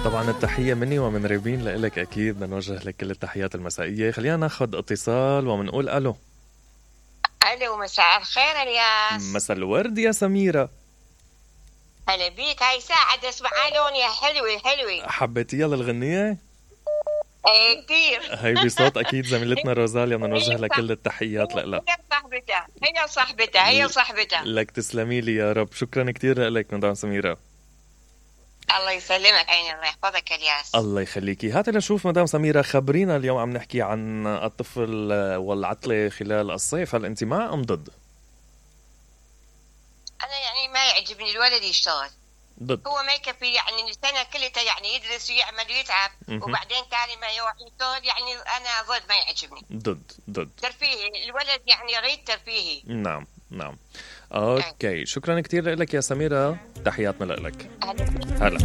طبعا التحية مني ومن ريبين لإلك، أكيد بدنا نوجه لك كل التحيات المسائية. خلينا ناخد اتصال ومنقول ألو. ألو، مساء الخير الياس. مساء الورد يا سميرة. هلا بيك، هاي ساعة اسمع لوني حلوة. حبيتيها للغنية؟ ايه كتير. هي بصوت أكيد زميلتنا روزاليا، بدنا نوجه لك كل التحيات لها. هي صاحبتها. لك تسلمي لي يا رب، شكرا كتير لك مدام سميرة. الله يسلمك عيني، الله يحفظك الياس. الله يخليكي. هات لنشوف مدام سميرة، خبرينا اليوم عم نحكي عن الطفل والعطلة خلال الصيف، هل أنت مع أم ضد؟ أنا يعني ما يعجبني الولد يشتغل. ضد. هو ما يكفي يعني السنة كلها يعني يدرس ويعمل ويتعب وبعدين تاني ما يروح يشتغل، يعني أنا ضد، ما يعجبني. ضد ترفيهي الولد، يعني يريد ترفيهي. نعم. أوكي، شكرا كتير لك يا سميرة، تحياتنا لك. هلا.